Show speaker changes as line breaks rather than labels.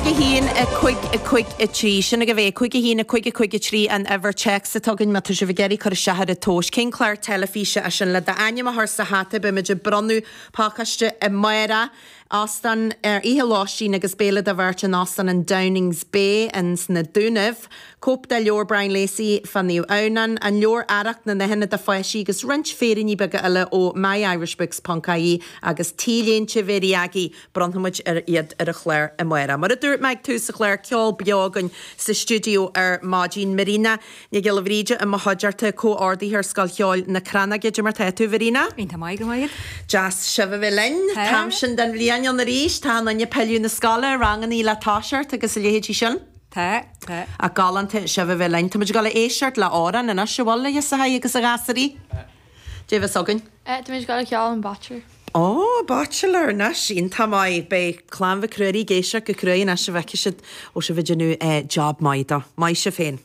5 1 5 5 3. Sin agaibh é, 5 1 5 5 3 an uimhir téacs atá againn má tá sibh ag iarraidh cur isteach ar an tomhas. Cén clár teilifíse é sin? Le d'ainm a chur sa hata beimid ag bronnadh pacáiste amárach, óstán, oíche lóistín agus béile do bheirt in Óstán an Downings Bay ins na Dúnaibh, cóip de leabhar Brian Lacey fá Naomh Adhamhnán, an leabhar Arracht na nDathanna do Pháistí agus roinnt féiríní beaga eile ó myirishbooks ponc ie agus T-léinte Mhéirí Aggie. Bronnfaimid ar iad ar an chlár amárach. Mar a dúirt mé ag tús an chláir, ceol beo againn sa stiúideo ar maidin. Marina Nic Giolla Bhríde i mo chuideachta, comhordaitheoir Scoil Cheoil na Crannóige. Cad é mar tá tú, Mharina?
Iontach maith, go raibh maith
agat. Deas sibh a bheith linn. Tá. T-am sin den bhliain ann arís. Tá an ag pilleadh na scoile, rangannaí le toiseacht agus a leithéidí sin.
Tá, tá.
Ach galánta sibh a bheith linn. Tá muid ag dul a éisteacht le amhrán anois, an bhfuil a fhios agaibh agus a ghasúraí? Cad é a bheas againn?
Tá muid ag dul a cheol an Bachelor.
Ó, Bachelor anois, iontach maith. Beidh clann Mhic Ruairí ag éisteacht go cruaidh anois a bhfeicfidh siad ó sibh ag déanamh job maith dó. Maith sibh féin.